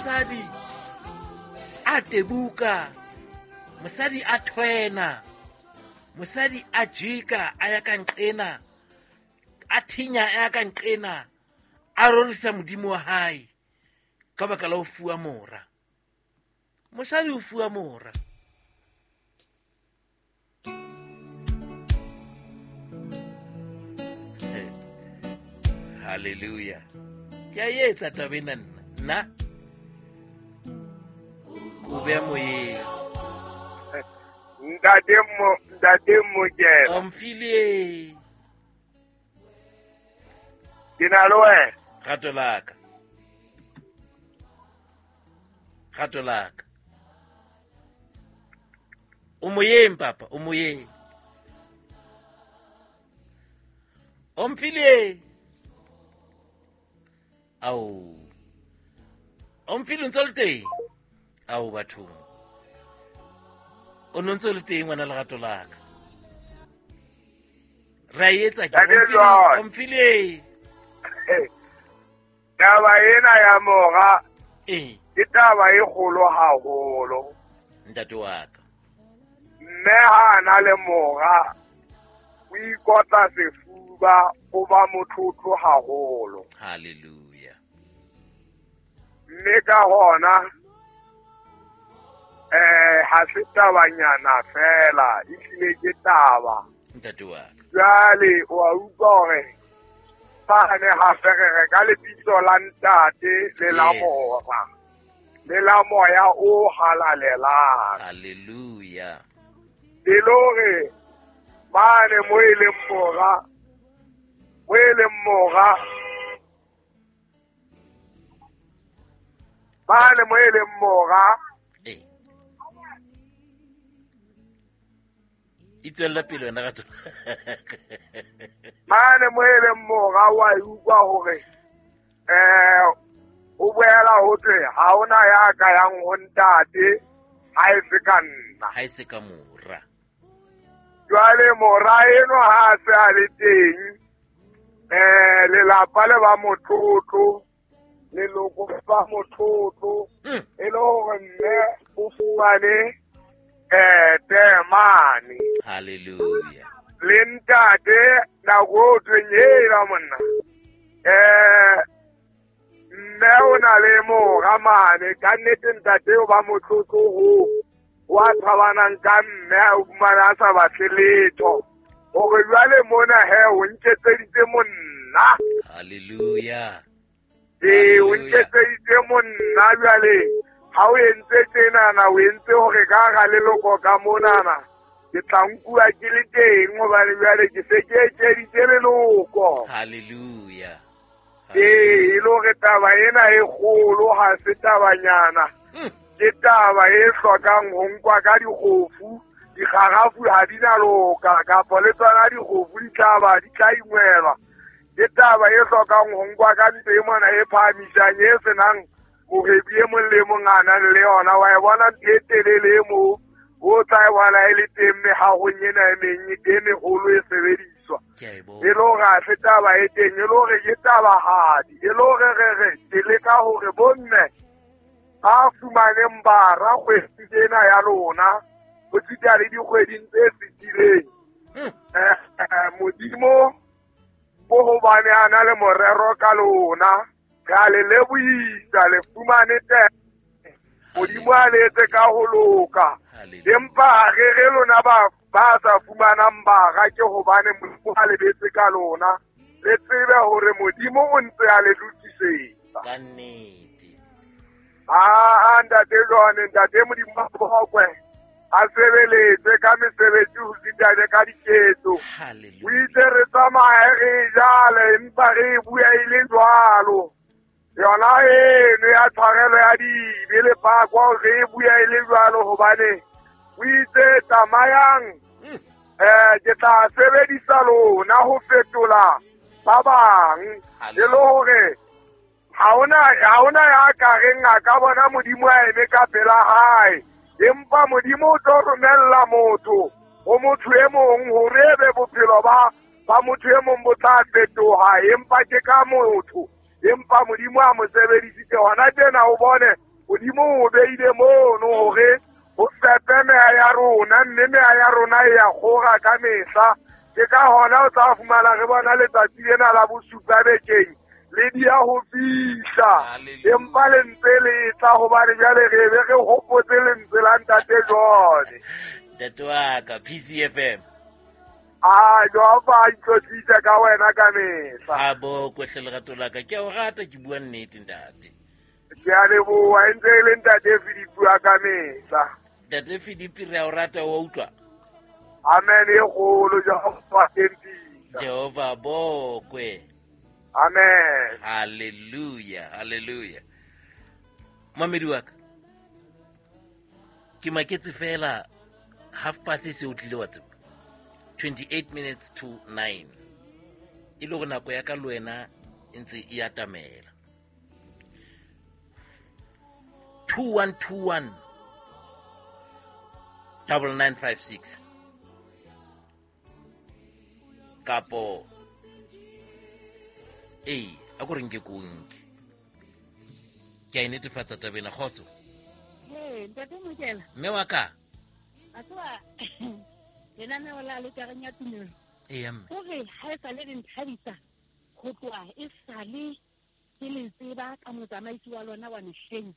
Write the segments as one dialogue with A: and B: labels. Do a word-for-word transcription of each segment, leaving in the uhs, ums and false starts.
A: Mosadi a tebuka, mosadi a thwena, mosadi a jika a ya ka nqena, a thinya a ya ka nqena, a rorisa Modimo wa hae ka baka la ho fuwa mora. Mosadi o fuwa mora. Hallelujah. Ke a etsa taba ena nna. Nna ko beha moyeng.
B: Ntate mo, ntate Mokela.
A: Omphile.
B: Ke na le wena.
A: Rato la ka. Rato la ka. O moyeng papa, o moyeng. Omphile. Ao. Omphile o ntse o le teng? Ao bathong. O no ntse o le teng ngwana lerato la ka. Re a etsa ke Omphile, Omphile.
B: Taba ena ya mora
A: Eh.
B: ke taba e kgolo haholo.
A: Ntate wa ka.
B: Mme ha a na le mora o ikotla sefuba, o ba motlotlo haholo.
A: Hallelujah.
B: Mme ka hona eh ha se tabanyana fela, ehlile ke taba.
A: Ntate wa ka.
B: Jwale o a utlwa hore fane hape re re ka lebitso la Ntate le la
A: Yes.
B: Mora le la Moya o halalelang.
A: Hallelujah.
B: E le hore mane mo e leng mora, mo e leng mora, mane mo e leng mora.
A: Eh. Itswella pele wena rato.
B: Mane mo e leng mora wa e utlwa hore eh o boela ho thwe ha hona ya ka yang ho ntate ha e se ka nna.
A: Ha e se ka mora.
B: Jwale mora enwa ha a se a le teng, eh lelapa le ba motlotlo, leloko ba motlotlo,
A: Mm.
B: e le hore mme o fumane eh temane.
A: Hallelujah.
B: Le ntate nako o thweng hela monna, eh mme o na le mora mane, ka nnete ntate o ba motlotlo ho wa thabanang ka mme o fumana a sa batle letho. Hore jwale mona he o nketseditse monna.
A: Hallelujah.
B: Ee, o
A: Hallelujah.
B: nketseditse monna jwale. Ha o entse tjenana, o entse hore ka hara leloko ka monana ke tla nkuwa ke le teng, hobane jwale ke se ke etseditse leloko.
A: Hallelujah.
B: Ee, e le hore taba ena e kgolo, ha se tabanyana.
A: Mm.
B: Ke taba e hlokang ho nkwa ka dikgofu. Dikgarafu ha di na loka, kapa le tsona dikgofu di tla ba, di tla ingwelwa. Ke taba e hlokang ho nkwa ka ntho e mona e phahamisang, e senang mohwebi e mong le mong a nang le yona. Wa e bona ntho e telele e moo, o tla e bona e le teng mehahong ena e meng e meholo e sebediswa.
A: Ke a e bona.
B: E le hore ha se taba e teng, e le hore ke tabahadi, e le hore re re ke leka hore bomme ba fumaneng bara kgwedi ena ya lona, ho sita le dikgweding tse fetileng.
A: Mm.
B: Eh, eh, Modimo o hobane a na le morero ka lona, re a le lebohisa, le fumane teng. Modimo a le etse ka ho loka.
A: Hallelujah.
B: Empa re re lona ba, ba sa fumanang bara ke hobane Modimo a lebetse ka lona. Le tsebe hore Modimo o ntse a le lokisetsa.
A: Ka nnete.
B: Ah, ntate John, ntate Modimo a bokwe, a sebeletse ka mesebetsi ho sita le ka diketso. O
A: Hallelujah.
B: itse re tsamaye re jale, empa re e bua e le jwalo. Yona eno ya tshwarelo ya dibe le pakwa, re e bua e le jwalo hobane o itse tsamayang,
A: Mm.
B: eh, ke tla sebedisa lona ho fetola ba bang. E le hore ha hona, ha hona ya ka reng a ka bona Modimo a eme ka pela hae, empa Modimo o tlo romella motho ho motho e mong hore e be bophelo ba, ba motho e mong bo tla fetoha, empa ke ka motho, empa Modimo a mo sebedisitse. Hona tjena o bone Modimo o beile mono hore ho fepe meya ya rona, mme meya ya rona e ya kgora ka mehla. Ke ka hona o tla fumana re bona letsatsi lena la bosupa bekeng le dia ho fihla. Empa le ntse le tla hobane jwale re be re hopotse lentswe la Ntate John.
A: Ntate wa ka P C F M.
B: Ah, Jehova a itlotlise ka wena ka mehla.
A: A bo kwehle lerato la ka. Ke a o rata, ke bua nnete ntate.
B: Ke a leboha, e ntse e le Ntate Philip wa ka mehla.
A: Ntate Philip re a o rata, wa utlwa?
B: Amen e kgolo, Jehova tentisa.
A: Jehova bokwe.
B: Amen.
A: Hallelujah, hallelujah. Mamedi wa ka, ke maketse fela half past se o tlile wa tseba. twenty-eight minutes to nine. E le hore nako ya ka le wena e ntse e atamela. two one two one double nine five six. Kapo ee, a ko re nke ko nke. Ke a e netefatsa taba ena, kgotso.
C: Hey, Ntate Mokela.
A: Mme wa ka.
C: A tseba lenaneo la Aletareng ya Tumelo.
A: Eya mme.
C: Hore ha e sale le nthabisa ho tloha e sale ke le tseba ka motsamaisi wa lona wa mehleng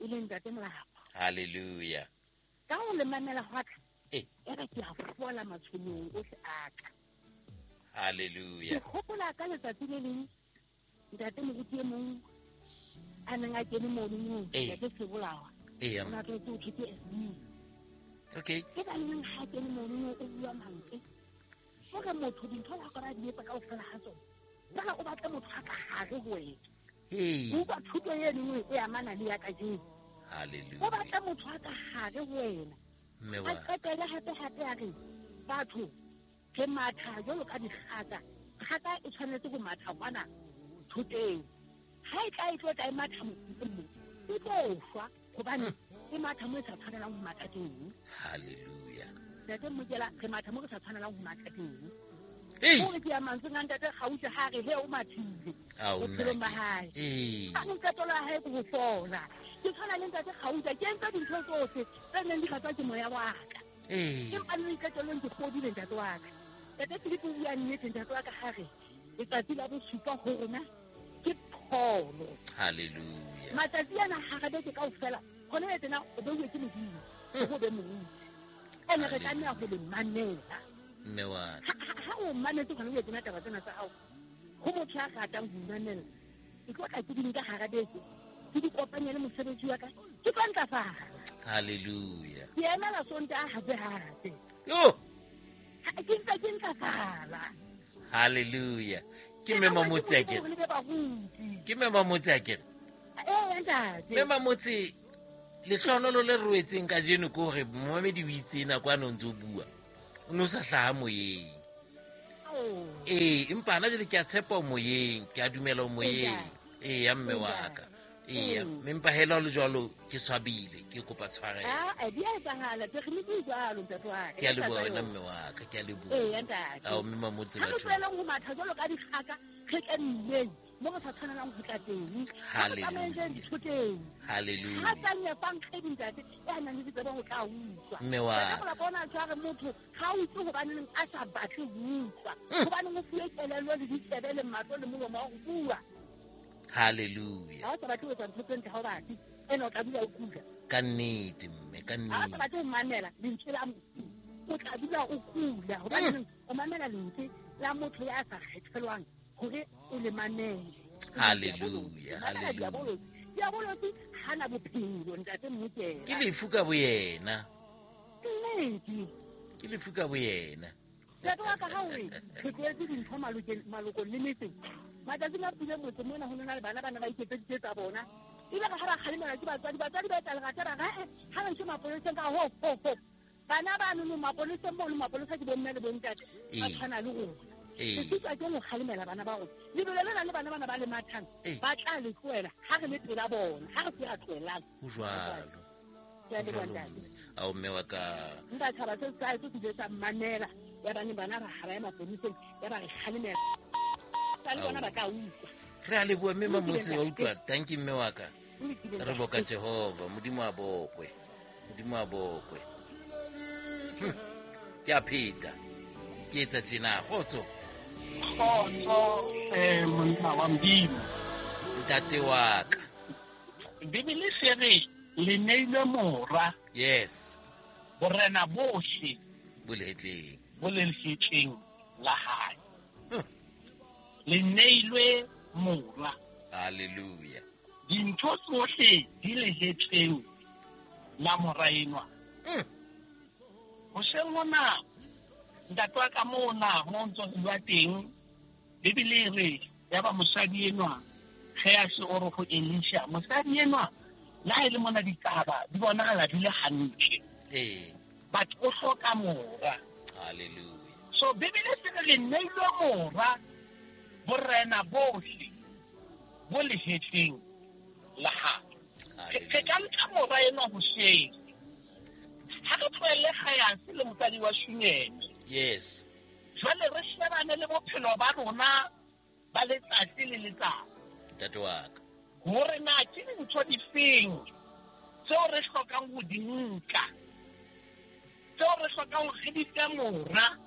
C: e leng Ntate Molapa.
A: Hallelujah.
C: Ka ho le mamela hwa ka.
A: Eh.
C: E re ke a fola matshwenyehong ohle a ka.
A: Hallelujah.
C: Ke hopola ka letsatsi le leng Ntate moruti e mong a neng a kene mono moo, Ntate Sebolawa.
A: Eya.
C: O ne a tlwaetse ho thwe ke S B.
A: Okay.
C: Ke ba neng ha kene mono moo o bua mantswe. Hore motho dintho la kora di etsa kaofela ha tsona. Jwale o batla motho a ka hare ho wena.
A: Hey.
C: O utlwa thuto eno e amana le ya kajeno.
A: Hallelujah.
C: O batla motho a ka hare ho wena.
A: Mme wa.
C: A qetele hape hape a re batho re matha jwalo ka dikgaka. Kgaka e tshwanetse ho matha kwana thoteng. Ha e tla e tlo tla e matha mo, e tlo shwa hobane e matha mo e sa tshwanelang ho matha teng.
A: Hallelujah.
C: Ntate Mokela, re matha mo re sa tshwanelang ho matha teng.
A: Ei.
C: Hore ke ya mantsweng a Ntate Kgauta ha re he o mathile.
A: Ao,
C: bophelong ba
A: nnake.
C: hae.
A: Ee.
C: Ha nqetolo ya hae ke ho fola. Ke tshwana le Ntate Kgauta, ke entse dintho tsohle tse neng di ratwa ke moya wa ka.
A: Ee.
C: Empa le qetellong ke fodile ntate wa ka. Ntate Philip o bua nnete ntate wa ka ha re letsatsi la bosupa ho rona ke pholo.
A: Hallelujah.
C: Matsatsi ana ha re beke kaofela, hona le tena o beuwe ke Modimo, o be moruti. Ene re tlameha ho le mamela.
A: Mme wa ka.
C: Ha, ha, ha o mametse hona le tsena taba tsena tsa hao, ho motho ya ratang ho mamela, ke tlo tla ke di nka hara beke, ke di kopanye le mosebetsi wa ka, ke tlo ntlafala.
A: Hallelujah.
C: Ke emela Sontaha hape hape.
A: Yo.
C: Ha, ke ntse ke ntlafala.
A: Hallelujah. Ke mme Mamotse akere. Ke mme Mamotse akere.
C: Eh, ntate.
A: Mme Mamotse, lehlohonolo le rwetseng kajeno ke hore momamedi o itse nako a no ntse o bua. O no sa hlaha moyeng.
C: Oh.
A: Ee, empa hana jwale ke a tshepa o moyeng, ke a dumela o moyeng. Ee, ya mme wa ka. Ee, mme empa hela ho le jwalo ke swabile, ke kopa tshwarelo.
C: Ah, di a etsahala, tekgniki e jwalo ntate wa ka.
A: Ke a leboha wena mme wa ka, ke a leboha.
C: Ee, ntate.
A: Ao, mme Mamotse
C: Ha re
A: batho.
C: tloheleng ho matha jwalo ka dikgaka, re tle mmileng mo re sa tshwanelang ho tla teng. Ha re
A: Hallelujah.
C: tsamaye dithoteng.
A: Hallelujah.
C: Ha sa nyefang kgedi ntate, ya nang le ditsebe ho tla utlwa.
A: Mme wa
C: Ntate
A: ka.
C: Molapa ona a tshware motho, ha o utlwe hobaneng a sa batle ho utlwa.
A: Mm.
C: Hobaneng o fuwe kelello le ditsebe le mahlo le molomo wa ho bua.
A: Hallelujah.
C: Ha o sa batle ho etsa ntho tse ntle, ha o batle. Ene o tla dula o kula.
A: Ka nnete mme, ka
C: Ha o sa
A: nnete.
C: batle ho mamela lentswe la Modimo, o tla dula o kula. Hobaneng o mamela lentswe la motho ya sa kgethelwang hore o le mamele.
A: Hallelujah,
C: Mamela
A: hallelujah.
C: diabolosi. Diabolosi hana bophelo ntate Mokela.
A: Ke lefu ka boyena.
C: Nnete.
A: Ke lefu ka boyena.
C: Ntate wa ka ha o re re tlohetse dintho malokeng, malokong le metseng. Matsatsing a pile motse mona ho nona le bana bana ba iketseditse tsa bona. Ebile re ha ba kgalemelwa ke batswadi, batswadi ba etsa lerata ba re, eh, ha re iswe mapoleseng ka ho, ho, ho. Bana ba nono mapoleseng mono, mapolesa ke bomme le bontate, ba
A: Ee.
C: tshwana le rona.
A: Ee.
C: Re sitwa ke ho kgalemela bana ba rona. Lebelo lena le bana bana ba le mathang,
A: Ee.
C: ba tla le tlohela ha re le pela bona, ha re se ra tlohelang.
A: Ho jwalo.
C: Ke a leboha
A: Ho jwalo,
C: ntate.
A: mme. Ao, mme wa ka.
C: Nka tshaba se se se se sa mamela ya bane bana ba ha ba ya maponeseng, ya ba re kgalemela. Ba le bona ba tla utlwa.
A: Re a leboha mme
C: Ho lokile,
A: Mamotse, wa
C: ntate.
A: utlwa. Thank you mme wa ka. Re boka Jehova, Modimo a bokwe. Modimo a bokwe. Ke a pheta. Ke etsa tjena, kgotso.
D: Kgotso, eh monna wa Modimo.
A: Ntate wa ka.
D: Bibele se re le neilwe mora.
A: Yes.
D: Borena bohle
A: bo lehetleng.
D: Bo lehetleng la hae. Le neilwe mora.
A: Hallelujah.
D: Dintho tsohle di lehetleng la mora enwa. Hoseng hona ntate wa ka mona mo ntse go bua teng, Bibele e re ya ba mosadi enwa ge a se o re go Elisha, mosadi enwa le ha e le mona ditaba di bonahala di le hantle.
A: Ee.
D: But o hloka mora.
A: Hallelujah.
D: So Bibele se re le neilwe mora, borena bohle bo lehetleng la hae. Re ka nka mora enwa hoseng. Ha re tlohelle kgayase le mosadi wa Shuneme.
A: Yes.
D: Jwale re shebane le bophelo ba rona ba letsatsi le letsatsi.
A: Ntate wa ka.
D: Hore na ke dintho difeng tseo re hlokang ho di nka, tseo re hlokang ho di fe mora,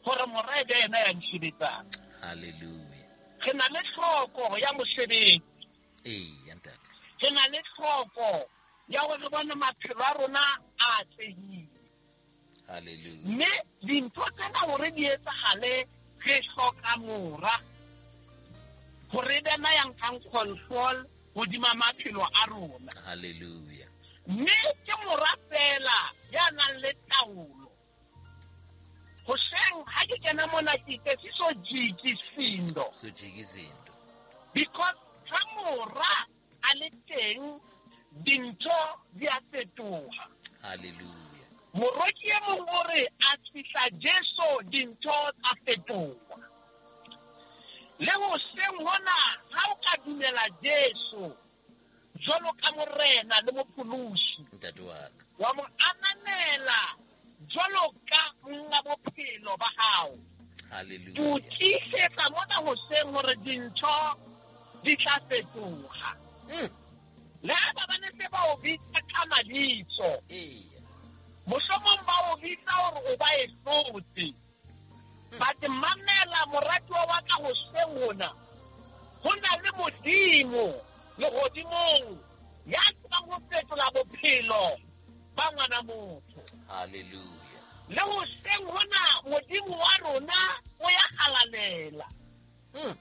D: hore mora e be yena ya ntshebetsang.
A: Hallelujah.
D: Re na le tlhoko ya mosebetsi.
A: Ee, ntate.
D: Re na le tlhoko ya hore re bone maphelo a rona a atlehile.
A: Hallelujah.
D: Mme dintho tsena hore di etsahale, re hloka mora hore be yena ya nkang control hodima maphelo a rona.
A: Hallelujah.
D: Mme ke mora fela ya nang le taolo. Hoseng ha ke kena mona ke itse se so jiki sindo.
A: So jiki sindo.
D: Because ha mora a le teng, dintho di a fetoha.
A: Hallelujah.
D: Moroki e mong o re a fihla Jesu dintho tsa fetoha. Le hoseng hona ha o ka dumela Jesu jwalo ka morena le mopholosi,
A: ntate wa ka,
D: wa mo ananela jwalo ka monga bophelo ba hao.
A: Hallelujah.
D: Ke o tiisetsa mona hoseng hore dintho di tla fetoha. Le ha ba ba ne se ba o bitsa ka mabitso, mohlomong ba o bitsa hore o ba e hlotse. But mamela moratuwa wa ka hoseng hona, ho na le Modimo lehodimong ya tsebang ho fetola bophelo ba ngwana motho.
A: Hallelujah.
D: Le hoseng hona Modimo wa rona o ya halalela.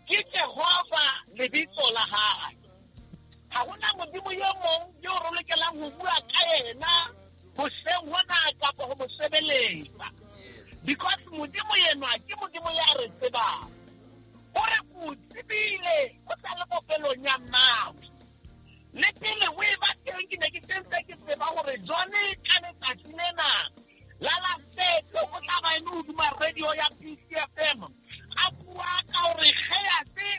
D: Ke Jehova lebitso la hae. Ha hona Modimo yo mong yo re lokelang ho bua ka yena hoseng hona kapa ho mo sebeletsa. Because Modimo yenwa ke Modimo ya re tsebang. O re o tsebile o sa le popelong ya mmao. Le pele o e ba teng ke ne ke sentse ke tseba hore Johnny ka letsatsi lena la la fetlo o tla ba eme hodima radio ya P C F M. A bua ka hore Gehazi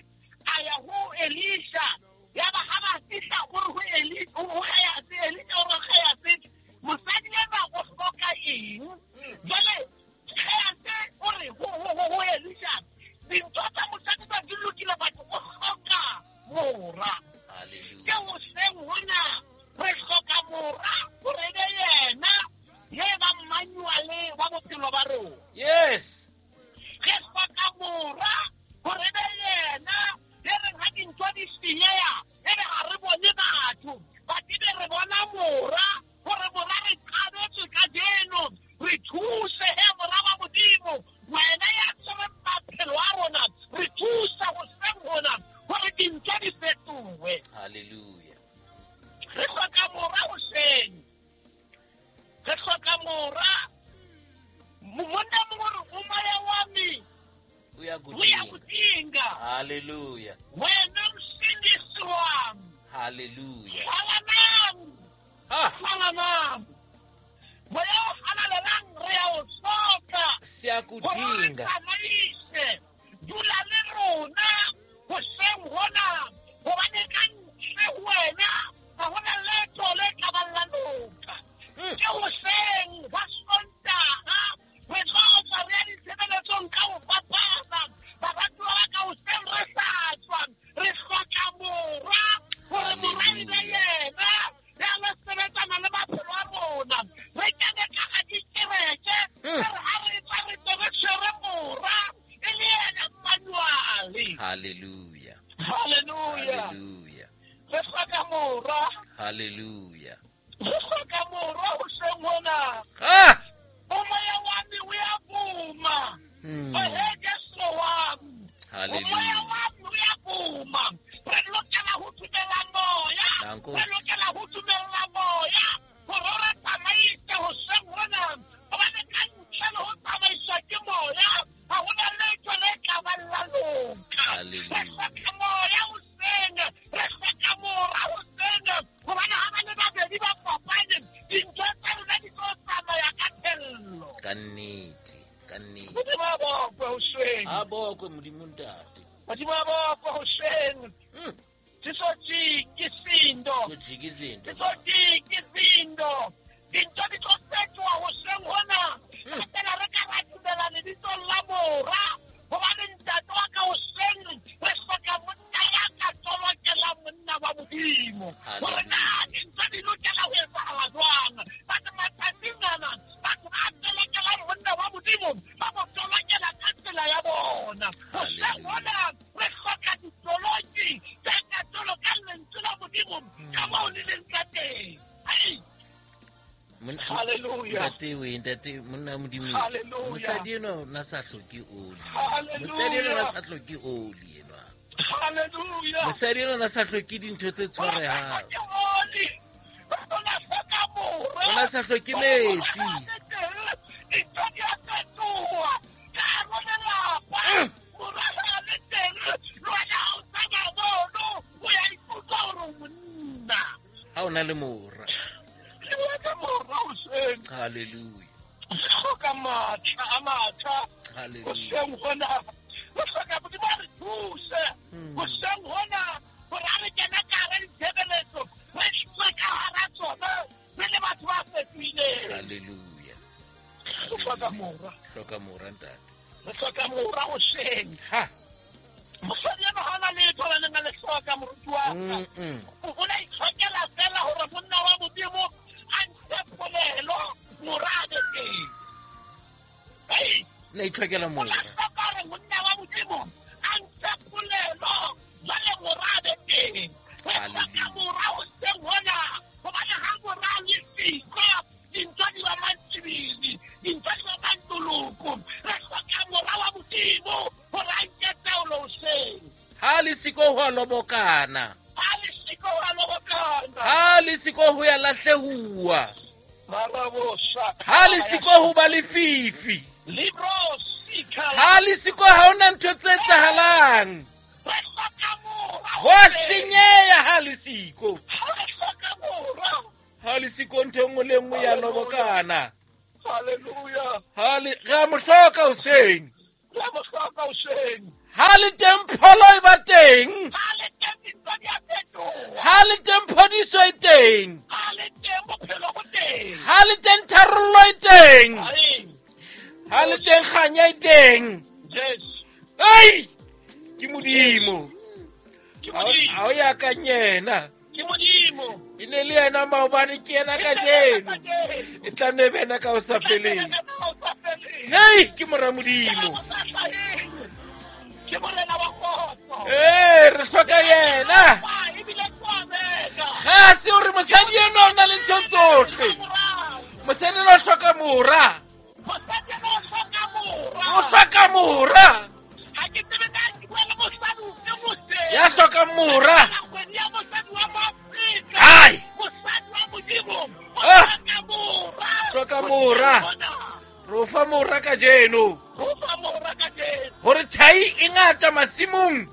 D: a ya ho Elisha. Ya ba ha ba fihla o re ho Elisha, ho Gehazi, Elisha o re Gehazi, mosadi enwa o hloka eng? Jwale Gehazi o re ho ho ho Elisha, dintho tsa mosadi ba di lokile, batho o hloka mora.
A: Hallelujah.
D: Ke hoseng hona re hloka mora hore be yena ye ba manuale wa bophelo ba rona.
A: Yes.
D: Re hloka mora hore be yena le reng ha dintho di senyeha, ebe ha re bone batho, but ebe re bona mora, hore mora re qhabetswe kajeno, re thuse he mora wa Modimo, wena ya tshwereng maphelo a rona, re thuse hoseng hona hore dintho di fetohe.
A: Hallelujah.
D: Re hloka mora hoseng. Re hloka mora. Monna mongwe re o moya wa me uyakudinga.
A: Hallelujah.
D: Wena msindisi wami.
A: Hallelujah.
D: Hlala nami.
A: Ah.
D: Hlala nami. Moya o halalelang re a o hloka.
A: Siyakudinga.
D: Hore dula le rona hoseng hona, hobane ka ntle ho wena ha hona letho le ka bang la loka. Ke hoseng hwa Sontaha re tlo tswa re ya ditshebeletsong ka ho fapana. Baratuwa ba ka hoseng re sa tswa, re hloka mora hore mora e be yena
A: Hallelujah.
D: Hallelujah.
A: Hallelujah.
D: Re hloka mora.
A: Hallelujah.
D: Re hloka mora hoseng hona.
A: Ah!
D: Moya wa me o ya vuma.
A: Mm.
D: Ohe Jesu wa me.
A: Hallelujah.
D: Moya wa me o ya vuma. Re lokela ho dumela moya. Re lokela ho dumela moya. Hore re tsamaise hoseng hona. Hobane ka ntle le ho tsamaiswa ke moya, ha hona letho le tla ba la loka.
A: Hallelujah.
D: Re hloka moya hoseng. Re hloka mora hoseng. Hobane ha ba le babedi ba kopane, dintho tsa rona di tlo tsamaya ka thello.
A: Ka nnete, ka nnete.
D: Modimo a bokwe hoseng.
A: A bokwe Modimo ntate.
D: Modimo a bokwe hoseng.
A: Mm.
D: Sisojike izinto.
A: Sojike izinto.
D: Sisojike izinto. Dintho di tlo fetoha hoseng hona. Feela re ka ra dumela lebitsong la mora. Hobane ntate wa ka hoseng re hloka monna ya ka tolokelang monna wa Modimo. Hore na dintho di lokela ho etsahala jwang. Batho matsatsing ana, batho ba tolokelang monna wa Modimo, ba mo tolokela ka tsela ya bona. Hoseng hona re hloka ditoloki tse ka tolokang lentswe la Modimo ka moo le leng ka teng. Ai!
A: Hallelujah. Ntate we, ntate monna Modimo. Mosadi enwa o na sa hloke oli. Mosadi enwa o na sa hloke oli enwa.
D: Hallelujah.
A: Mosadi enwa o na sa hloke dintho tse tshwarehang. O na sa hloke metsi.
D: Dintho di a fetoha. Ka hare ho lelapa. Mora ha le teng, le wena ha o tsamaya mono, o ya ikutlwa hore o monna.
A: Ha o na le mora. Hallelujah.
D: Re hloka matla a matjha.
A: Hallelujah.
D: Hoseng hona re hloka Modimo a re thuse. Hoseng hona hore ha re kena ka hara ditshebeletso, re tswe ka hara tsona re le batho ba fetohileng.
A: Hallelujah.
D: Re hloka mora.
A: Hloka mora ntate.
D: Re hloka mora hoseng.
A: Ha.
D: Mosadi enwa ha na letho la neng a le hloka moruti wa ka. O na itlhokela fela hore monna wa Modimo a ntshe polelo mora a be teng. Ai!
A: Ne itlhokela mora.
D: O na hloka hore monna wa Modimo a ntshe polelo jwale mora a be teng. Re hloka mora hoseng hona, hobane ha mora a le siko, dintho di ba mantsibili, dintho di ba mantoloko. Re hloka mora wa Modimo hore a nke taolo hoseng.
A: Ha le siko ho a lobokana.
D: Ha le siko ho a lobokana.
A: Ha le siko ho ya lahlehuwa. Ha le siko ho ba lefifi. Ha le siko ha hona ntho tse etsahalang. Ho senyeha ha le siko. Ha le siko ntho e nngwe le nngwe ya lobokana.
D: Hallelujah.
A: Ha le re a mo hloka hoseng.
D: Re a mo hloka hoseng.
A: Ha le teng pholo e ba teng.
D: Ha le teng dintho di a fetoha.
A: Ha le teng phodiso e teng.
D: Ha le teng bophelo bo teng.
A: Ha le teng tharollo e teng. Ha le teng kganya e teng.
D: Yes.
A: Ai! Ke Modimo.
D: Ke Modimo.
A: Ha o ya ka yena.
D: Ke Modimo.
A: E ne le yena maobane, ke yena kajeno. E tla nne be yena ka ho sa feleng. Hei, ke mora Modimo.
D: Ke morena wa kgotso.
A: Eh, re hloka yena. Ga se hore mosadi enwa o na le ntho tsohle. Mosadi enwa o hloka mora.
D: Mosadi enwa o hloka mora.
A: O hloka mora.
D: Ha ke tsebe na ke bua le mosadi ofe hoseng.
A: Ya hlokang mora.
D: Kgwedi ya mosadi wa Afrika.
A: Ai!
D: Mosadi wa Modimo. O
A: Ah!
D: hloka mora.
A: Hloka mora. Re o fa mora kajeno.
D: Ho fa mora kajeno.
A: Hore tjhai e ngata masimong.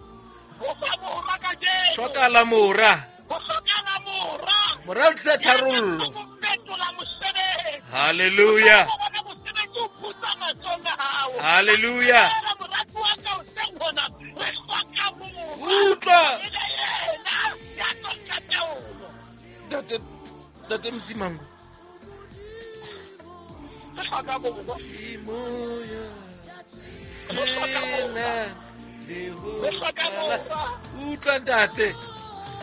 D: Ho fa mora kajeno.
A: Hlokahala mora.
D: Ho hlokahala mora.
A: Mora o tlisa tharollo.
D: Ho fetola mosebetsi.
A: Hallelujah.
D: Ho bona mosebetsi o phutsa matsohong a hao.
A: Hallelujah.
D: Feela moratuwa wa ka hoseng hona, re hloka mora.
A: Utlwa.
D: E le yena ya tlo nka taolo.
A: Ntate, Ntate Msimango.
D: Re hloka mora.
A: Moya.
D: Re hloka mora.
A: Sena le ho
D: Re hloka mora.
A: Utlwa ntate.